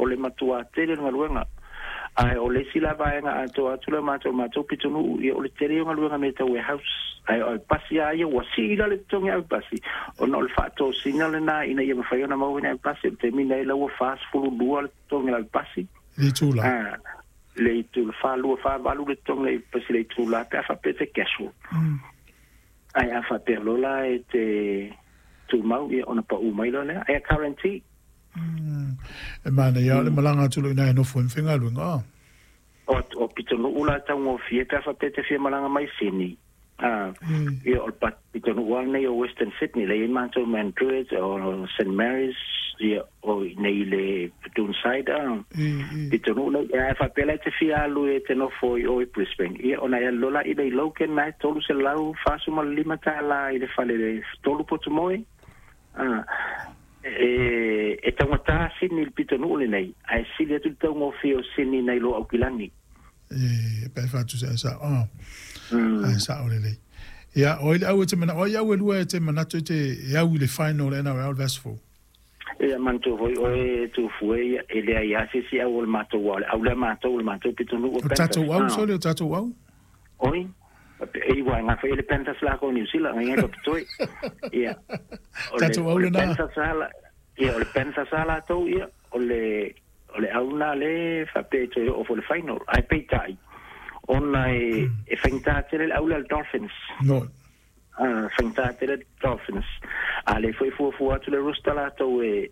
O le matua tele le galuega. Ae o le isi la vaega atoa atu le matou pitonuu, ia o le tele o galuega me tau warehouse. Ae o pasi a ia ua sii la le totogi au pasi, ona o le faatosina lena ina ia mafai ona maua ni au pasi. O le taimi nei la ua 42 le totogi o le au pasi. Le itula. Le itula 42 48 le totogi le pasi le itula pe a faapea te casual. Ae a faapea loa la e te tumau, ia ona pau mai loa lea. Ae guarantee. E manaia o le malaga atu loa i ina e nofo ai ma faigaluega. O pitonuu la taugofie pe a faapea te fia malaga mai Sydney. Ia o le pitonuu lava lenei o Western Sydney, lea e i ai matou Mandurah o St Mary's, ia o i inei i le Doonside, pitonuu nei. Ae faapea la e te fia alu e te nofo i o i Brisbane, ia ona e alu loa la i le Logan na e $345 i le fale le 3 potu moe. E taugata Sydney i le pitonuu lenei, ae sili atu le taugofie o Sydney nai lo Aukilani. E pe faatusa e sao. Ae sao lelei. Ia, o ai le au e te mana, o ai au e lua e te manatu e te e au i le final le NRL vs 4? Ia manatua foi oe e Tufue, ia, e leai lava se isi au o le matou aua o le au lea matou, o le matou pitonuu o O Panthers. tatou au, sole, o tatou au. Oi, e iwa e gafa i le Panthers lako o New Zealand, ngai ngai papitoi. Ia, o le, Tatou au o le lena. Panthers ala, ia, o le Panthers ala tou, ia, o le, o le au lena le faapea e toe oo foi i le final. Ae peitai, ona e, e faigata tele le au lea a le Dolphins. No. Faigata tele le Dolphins. A lea foi e fuafua atu le roster latou e,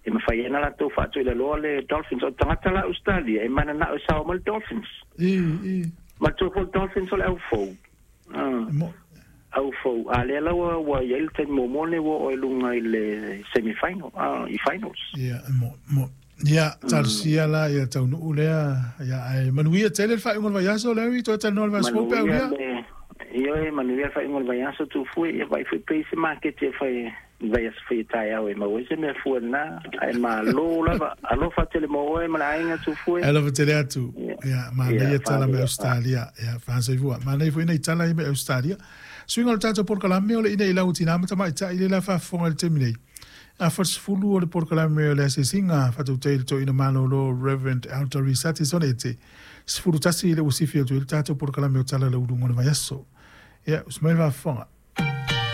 e mafai ai ona latou faatoilaloa le Dolphins. O tagata la Australia e mananao e sao mai le Dolphins. I, i. Manatua foi le Dolphins o le au fou. Mo. Au fou. A lea la ua, ua i ai le taimi muamua lenei ua oo i luga i le semi final, i finals. Ia, mo, mo. Ia, talosia la ia taunuu lea. Ia, ae manuia tele le faaiuga o le vaiaso, Larry, toe talanoa le vaiaso fou pe Manuia aulia. le, ioe, manuia le faaiuga o le vaiaso, Tufue, ia vaai foi pe i ai se maketi e fai i le vaiaso foi e taeao e maua ai se mea fua lena. Ae malo lava. Alofa tele mo oe ma le aiga, Tufue. Alofa tele atu. Ia, Ia, manaia ia, tala mai faalele, Australia. Ia, faasoifua. Manaia foi nai tala ia mai Australia. Suiga o le tatou polokalame o le ina i lau tina ma tamaitai lea la faafofoga i le taimi nei. A 40 o le polokalame o le asiasiga faatautai i le toeaina malolo Reverend Elder Risati Sonete. 11 i le ua sifi atu ai le tatou polokalame o Tala i le Uluga o le Vaiaso. Ia, usu mai le faafofoga.